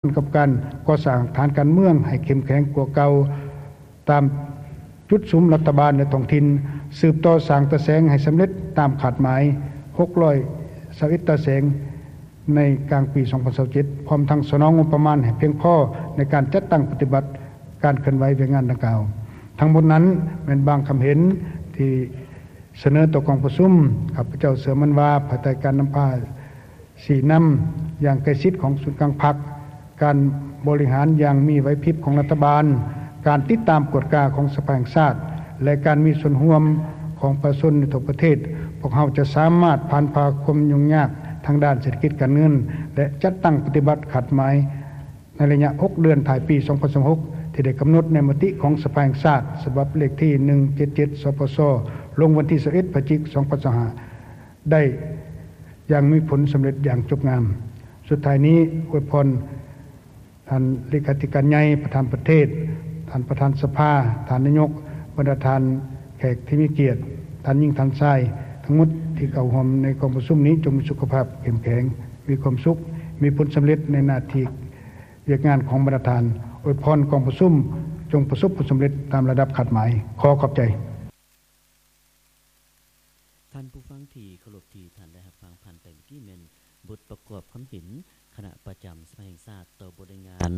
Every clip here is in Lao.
ກັບການກໍ່ສ້າງຖານການເມືອງໃຫ້ເຂັ້ມແຂງກວ່າເກົ່າ ຕາມຈຸດສຸມລັດຖະບານ ແລະ ທ້ອງຖິ່ນ, ສືບຕໍ່ສ້າງຕາແສງໃຫ້ສຳເລັດຕາມຄາດໝາຍ ຫົກຮ້ອຍຊາວເອັດຕາແສງ ໃນກາງປີສອງພັນຊາວເຈັດ ພ້ອມທັງສະໜອງງົບປະມານໃຫ້ພຽງພໍໃນການຈັດຕັ້ງປະຕິບັດການເຄື່ອນໄຫວວຽກງານດັ່ງກ່າວ. ທັງໝົດນັ້ນແມ່ນບາງຄຳເຫັນທີ່ສະເໜີຕໍ່ກອງປະຊຸມ. ຂ້າພະເຈົ້າເຊື່ອໝັ້ນວ່າ ພາຍໃຕ້ການນຳພາ ຊີ້ນຳຢ່າງໃກ້ຊິດຂອງສູນກາງພັກ, ການບໍລິຫານຢ່າງມີໄຫວພິບຂອງລັດຖະບານ, ການຕິດຕາມກວດກາຂອງສະພາແຫ່ງຊາດ ແລະ ການມີສ່ວນຮ່ວມຂອງປະຊາຊົນໃນທົ່ວປະເທດ, ພວກເຮົາຈະສາມາດຜ່ານຜ່າຄວາມຫຍຸ້ງຍາກທາງດ້ານເສດຖະກິດການເງິນ ແລະ ຈັດຕັ້ງປະຕິບັດຄາດໝາຍ ໃນໄລຍະຫົກເດືອນທ້າຍປີສອງພັນຊາວຫົກ ທີ່ໄດ້ກຳນົດໃນມະຕິຂອງສະພາແຫ່ງຊາດ ສະບັບເລກທີໜຶ່ງເຈັດເຈັດ ສປຊ ລົງວັນທີຊາວເອັດ ພະຈິກ ສອງພັນຊາວຫ້າ ໄດ້ຢ່າງມີຜົນສຳເລັດຢ່າງຈົບງາມ. ສຸດທ້າຍນີ້ ອວຍພອນທ່ານເລຂາທິການໃຫຍ່, ປະທານປະເທດ, ທ່ານປະທານສະພາ, ທ່ານນາຍົກ, ບັນດາທ່ານແຂກທີ່ມີກຽດ, ທ່ານຍິງ, ທ່ານຊາຍ ທັງໝົດທີ່ເຂົ້າຮ່ວມໃນກອງປະຊຸມນີ້ ຈົ່ງມີສຸຂະພາບເຂັ້ມແຂງ, ມີຄວາມສຸກ, ມີຜົນສຳເລັດໃນໜ້າທີ່ວຽກງານຂອງບັນດາທ່ານ. ອວຍພອນກອງປະຊຸມຈົ່ງປະສົບຜົນສຳເລັດຕາມລະດັບຄາດໝາຍ. ຂໍຂອບໃຈ. ທ່ານຜູ້ຟັງທີ່ເຄົາລົບ, ທີ່ທ່ານໄດ້ຮັບຟັງຜ່ານໄປເມື່ອກີ້ແມ່ນບົດປະກອບຄຳເຫັນຄະນະປະຈຳສະພາແຫ່ງຊາດຕໍ່ບົດລາຍງານ.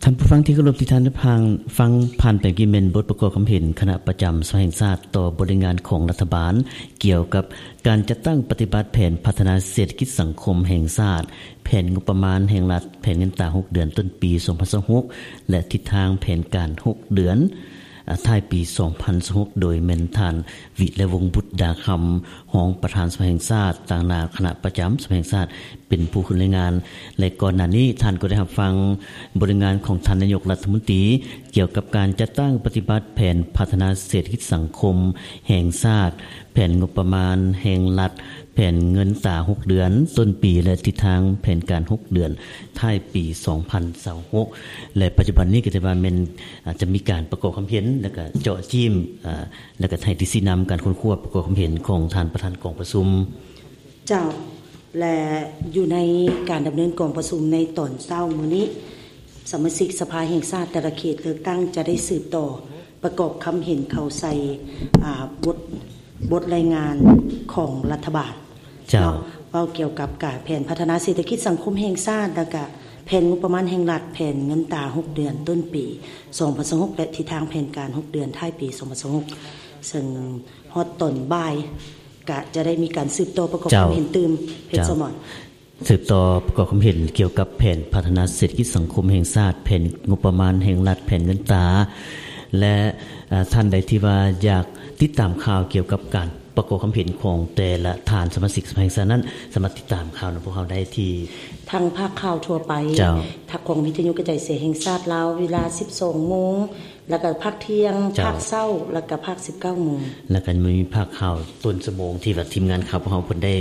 ທ່ານຜູ້ຟັງທີ່ເຄົາລົບ, ທີ່ທ່ານໄດ້ຟັງ, ຟັງຜ່ານໄປເມື່ອກີ້ແມ່ນບົດປະກອບຄຳເຫັນຄະນະປະຈຳສະພາແຫ່ງຊາດຕໍ່ບົດລາຍງານຂອງລັດຖະບານ ກ່ຽວກັບການຈັດຕັ້ງປະຕິບັດແຜນພັດທະນາເສດຖະກິດສັງຄົມແຫ່ງຊາດ, ແຜນງົບປະມານແຫ່ງລັດ, ແຜນເງິນຕາຫົກເດືອນຕົ້ນປີສອງພັນຊາວຫົກ ແລະ ທິດທາງແຜນການຫົກເດືອນ ອາ ທ້າຍປີສອງພັນຊາວຫົກ ໂດຍແມ່ນທ່ານ ວິໄລວົງ ບຸດດາຄຳ ຮອງປະທານສະພາແຫ່ງຊາດ ຕາງໜ້າຄະນະປະຈຳສະພາແຫ່ງຊາດ ເປັນຜູ້ຂຶ້ນລາຍງານ ແລະ ກ່ອນໜ້ານີ້ທ່ານກໍໄດ້ຮັບຟັງບົດລາຍງານຂອງທ່ານນາຍົກລັດຖະມົນຕີ ກ່ຽວກັບການຈັດຕັ້ງປະຕິບັດແຜນພັດທະນາເສດຖະກິດສັງຄົມແຫ່ງຊາດ, ແຜນງົບປະມານແຫ່ງລັດ, ແຜນເງິນຕາຫົກເດືອນຕົ້ນປີ ແລະ ທິດທາງແຜນການຫົກເດືອນທ້າຍປີສອງພັນຊາວຫົກ ແລະ ປັດຈຸບັນນີ້ກໍຖືວ່າແມ່ນ ອາ ຈະມີການປະກອບຄຳເຫັນ ແລະ ກະເຈາະຈີ້ມ ອາ ແລະ ກະໃຫ້ທີ່ຊີ້ນຳການຄົ້ນຄວ້າປະກອບຄຳເຫັນຂອງທ່ານປະທານກອງປະຊຸມ. ເຈົ້າ ແລະ ຢູ່ໃນການດຳເນີນກອງປະຊຸມໃນຕອນເຊົ້າມື້ນີ້ ສະມາຊິກສະພາແຫ່ງຊາດແຕ່ລະເຂດເລືອກຕັ້ງຈະໄດ້ສືບຕໍ່ປະກອບຄຳເຫັນເຂົ້າໃສ່ ອາ ບົດ ບົດລາຍງານຂອງລັດຖະບານ ເຈົ້າ ເນາະ ເວົ້າກ່ຽວກັບການແຜນພັດທະນາເສດຖະກິດສັງຄົມແຫ່ງຊາດ ແລ້ວກະແຜນງົບປະມານແຫ່ງລັດ, ແຜນເງິນຕາຫົກເດືອນຕົ້ນປີສອງພັນຊາວຫົກ ແລະ ທິດທາງແຜນການຫົກເດືອນທ້າຍປີສອງພັນຊາວຫົກ ເຊິ່ງຮອດຕອນບ່າຍ ກະຈະໄດ້ມີການສືບຕໍ່ປະກອບ ເຈົ້າ ຄຳເຫັນຕື່ມ ເຈົ້າ ເພດສະໝອນ. ສືບຕໍ່ປະກອບຄຳເຫັນກ່ຽວກັບແຜນພັດທະນາເສດຖະກິດສັງຄົມແຫ່ງຊາດ, ແຜນງົບປະມານແຫ່ງລັດ, ແຜນເງິນຕາ ແລະ ອາ ທ່ານໃດທີ່ວ່າຢາກຕິດຕາມຂ່າວກ່ຽວກັບການປະກອບຄຳເຫັນຂອງແຕ່ລະທ່ານສະມາຊິກສະພາແຫ່ງຊາດນັ້ນ ສາມາດຕິດຕາມຂ່າວນຳພວກເຮົາໄດ້ທີ່ ທາງພາກຂ່າວທົ່ວໄປ ເຈົ້າ ທາງຂອງວິທະຍຸກະຈາຍສຽງແຫ່ງຊາດລາວ ເວລາສິບສອງໂມງ ແລ້ວກະພາກທ່ຽງ ເຈົ້າ ພາກເຊົ້າ ແລ້ວກະພາກສິບເກົ້າໂມງ ແລ້ວກະມີພາກຂ່າວຕົ້ນຊົ່ວໂມງທີ່ວ່າທີມງານຂ່າວພວກເຮົາເພິ່ນໄດ້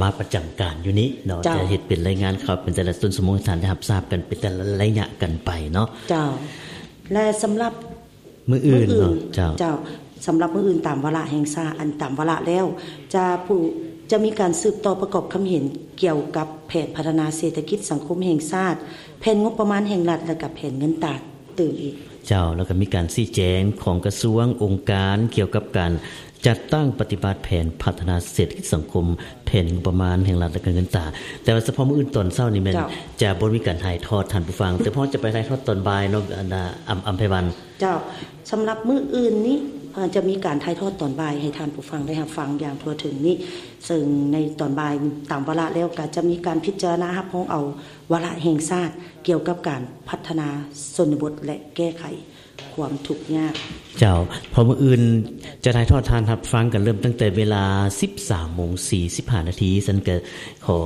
ມາປະຈຳການຢູ່ນີ້ເນາະ ເຈົ້າ ຈະເຮັດເປັນລາຍງານຂ່າວເປັນແຕ່ລະຕົ້ນຊົ່ວໂມງໃຫ້ທ່ານໄດ້ຮັບຊາບກັນເປັນແຕ່ລະໄລຍະກັນໄປເນາະ ເຈົ້າ ແລະ ສຳລັບມື້ອື່ນ ມື້ອື່ນເນາະ ເຈົ້າ ເຈົ້າ ສຳລັບມື້ອື່ນຕາມວາລະແຫ່ງຊາດ ອັນຕາມວາລະແລ້ວ ຈະຜູ້ ຈະມີການສືບຕໍ່ປະກອບຄຳເຫັນກ່ຽວກັບແຜນພັດທະນາເສດຖະກິດສັງຄົມແຫ່ງຊາດ, ແຜນງົບປະມານແຫ່ງລັດ ແລະ ກະແຜນເງິນຕາຕື່ມອີກ. ເຈົ້າ ແລ້ວກະມີການຊີ້ແຈງຂອງກະຊວງ, ອົງການ ກ່ຽວກັບການຈັດຕັ້ງປະຕິບັດແຜນພັດທະນາເສດຖະກິດສັງຄົມ, ແຜນງົບປະມານແຫ່ງລັດ ແລະ ກະເງິນຕາ. ແຕ່ວ່າສະເພາະມື້ອື່ນຕອນເຊົ້ານີ້ແມ່ນ ເຈົ້າ ຈະບໍ່ມີການຖ່າຍທອດທ່ານຜູ້ຟັງ, ແຕ່ເພາະຈະໄປຖ່າຍທອດຕອນບ່າຍເນາະ ອັນນ່າ ອຳ ອຳໄພວັນ. ເຈົ້າ ສຳລັບມື້ອື່ນນີ້ ເອີ ຈະມີການຖ່າຍທອດຕອນບ່າຍໃຫ້ທ່ານຜູ້ຟັງໄດ້ຮັບຟັງຢ່າງທົ່ວເຖິງນີ້ ເຊິ່ງໃນຕອນບ່າຍຕາມວາລະແລ້ວ ກະຈະມີການພິຈາລະນາຮັບຮອງເອົາວາລະແຫ່ງຊາດກ່ຽວກັບການພັດທະນາຊົນນະບົດ ແລະ ແກ້ໄຂຄວາມທຸກຍາກ. ເຈົ້າ ເພາະມື້ອື່ນຈະຖ່າຍທອດທ່ານຮັບຟັງກັນເລີ່ມຕັ້ງແຕ່ເວລາສິບສາມໂມງສີ່ສິບຫ້ານາທີ, ຊັ້ນກະຂໍ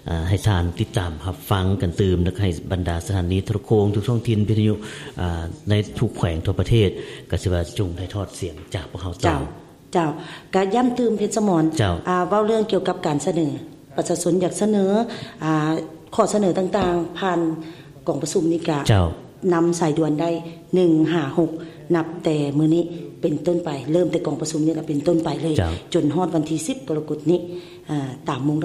ອາ ໃຫ້ທ່ານຕິດຕາມຮັບຟັງກັນຕື່ມ ແລະ ໃຫ້ບັນດາສະຖານີໂທລະໂຄ່ງທຸກທ້ອງຖິ່ນ ວິທະຍຸ ອາ ໃນທຸກແຂວງທົ່ວປະເທດ ກະຊິວ່າຈົ່ງຖ່າຍທອດສຽງຈາກພວກເຮົາຕໍ່. ເຈົ້າ ເຈົ້າ ກະຢ້ຳຕື່ມ ເພດສະໝອນ ເຈົ້າ ອາ ເວົ້າເລື່ອງກ່ຽວກັບການສະເໜີ ປະຊາຊົນຢາກສະເໜີ ອາ ຂໍ້ສະເໜີຕ່າງໆ ຜ່ານກອງປະຊຸມນີ້ກະ ເຈົ້າ ນຳສາຍດ່ວນໄດ້ ໜຶ່ງຫ້າຫົກ ນັບແຕ່ມື້ນີ້ເປັນຕົ້ນໄປ ເລີ່ມແຕ່ກອງປະຊຸມນີ້ລະເປັນຕົ້ນໄປເລີຍ ເຈົ້າ ຈົນຮອດວັນທີສິບກໍລະກົດນີ້ ອາ ຕາມມຸ້ງ